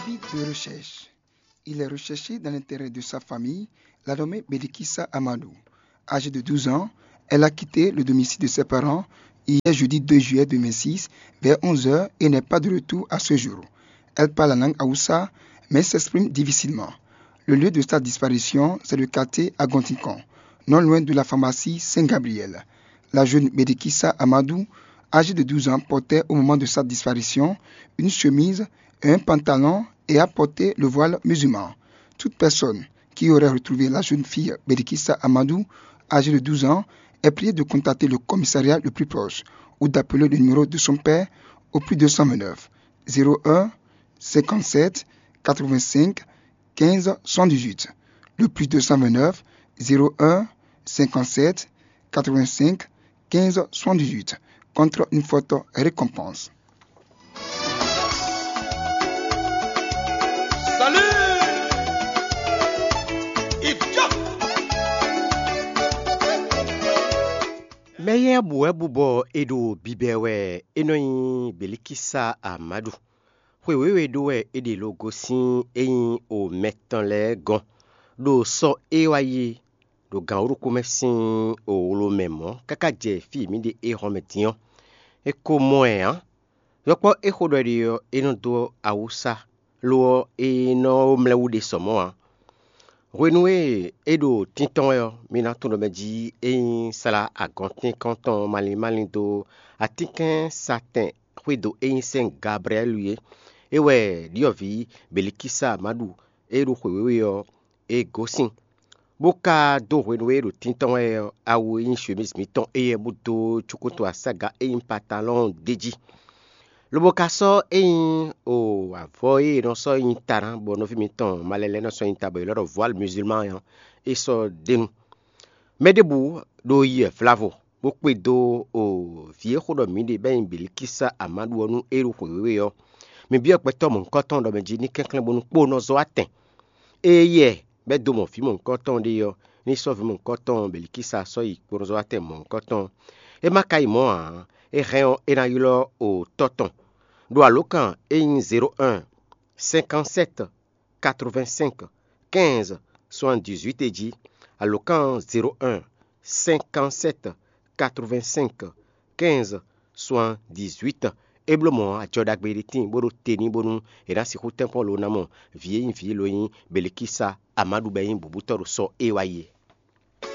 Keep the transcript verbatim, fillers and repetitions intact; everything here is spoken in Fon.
Avis de recherche. Il est recherché dans l'intérêt de sa famille, la nommée Bedikissa Amadou. Âgée de douze ans, elle a quitté le domicile de ses parents hier jeudi deux juillet deux mille six vers onze heures et n'est pas de retour à ce jour. Elle parle la langue Haoussa, mais s'exprime difficilement. Le lieu de sa disparition, c'est le quartier Agontikan, non loin de la pharmacie Saint-Gabriel. La jeune Bedikissa Amadou, âgée de douze ans, portait au moment de sa disparition une chemise, un pantalon et a porté le voile musulman. Toute personne qui aurait retrouvé la jeune fille Bedikissa Amadou, âgée de douze ans, est priée de contacter le commissariat le plus proche ou d'appeler le numéro de son père au plus deux cent vingt-neuf, zéro un, cinquante-sept, quatre-vingt-cinq, quinze, soixante-dix-huit. Le plus deux cent vingt-neuf, zéro un, cinquante-sept, quatre-vingt-cinq, quinze, soixante-dix-huit, contre une forte récompense. Salut! Idiot! Mɛ éyɛ́ bu wɛ bu bɔ è ɖo bibɛ wɛ é nɔ nyí Belikisa Amadu. Xwe wěwe ɖó wɛ é ɖe lo gosín é nyí o mɛtɔn lɛ́ɛ gɔ́n, ɖo sɔ e wá yi ɖo gǎn wúɖukú mɛ sín wlo mɛ mɔ̌ káká jɛ fí e mǐ ɖe éhɔ́n mɛ din ɔ́. È ko mɔ ɛ ǎ. Yɔkpɔ́ é xo ɖɔ ɖe ɔ́, é nɔ dó awúsá, lo ɔ́, é nɔ mlɛ́ wú ɖe sɔ mɔ̌ ǎ. Hwenu e é ɖo tíntɔ́n wɛ ɔ́, mi ná tunwun ɖɔ mɛ jí é nyí slá agɔntínkɔn tɔn malín málín dó atínkɛ́nsatɛn xwédo e nyí sɛ́n Gablɛɛlu é. É wɛ ɖyɔ̌vǐ Belikísa ma ɖu, é ɖo xwě wěwe ɔ́, é gosín, bó ka dó hwenu e é ɖo tíntɔ́n wɛ ɔ́, awu e nyí shwemízi mǐtɔn éyɛ́ bó dó cukúnto asága e nyí patalɔ́ɔn d'é jí. Lobo ka sɔ́ é nyí o avɔ e è nɔ sɔ́ nyi ta ná, bɔ nɔví mǐtɔn malɛ lɛ́ɛ nɔ sɔ́ nyi ta, bɔ è lɔ́ ɖɔ vwǎlu muzulman ɔ́, é sɔ́ d'é nu. Mɛ ɖěbǔ ɖo yi wɛ vlavo, bó kpé dó o vǐ e xó ɖɔ mǐ ɖe bɔ é nyí Belikísa Amadu ɔ́ nú é ɖo xwě wěwe ɔ́. Mi byɔ́ gbɛtɔ́ mɔ̌hunkɔtɔn ɖɔ mɛ jí ní kɛnklɛ́n bónú kpó nɔ zɔ́ wá tɛn. Éyɛ́ bɔ é dó mɔ vǐ mɔ̌hunkɔtɔn ɖé ɔ́, ní sɔ́ vǐ mɔ̌hunkɔtɔn Belikísa sɔ́ yi kpó nɔ zɔ́ wá tɛn mɔ̌hunkɔtɔn. É ma ka yi mɔ̌ ǎ, é hɛn ɔ́, é ná ylɔ́ o tɔ́ tɔn ɖo alǒkan e nyí zéro un, cinquante-sept, quatre-vingt-cinq, quinze, soixante-dix-huit é jí. Alǒkan zéro un, cinquante-sept, quatre-vingt-cinq, quinze, soixante-dix-huit. É bló mɔ̌ ajɔ ɖagbe ɖé tíin bó ɖo te n'i bónú è nǎ sixú tɛ́nkpɔ́n lo ná mɔ vǐ e nyí vǐ lo nyí Belikísa Amadu bɔ é nyí bǔbútɔ́ ɖo sɔ e wá yi é.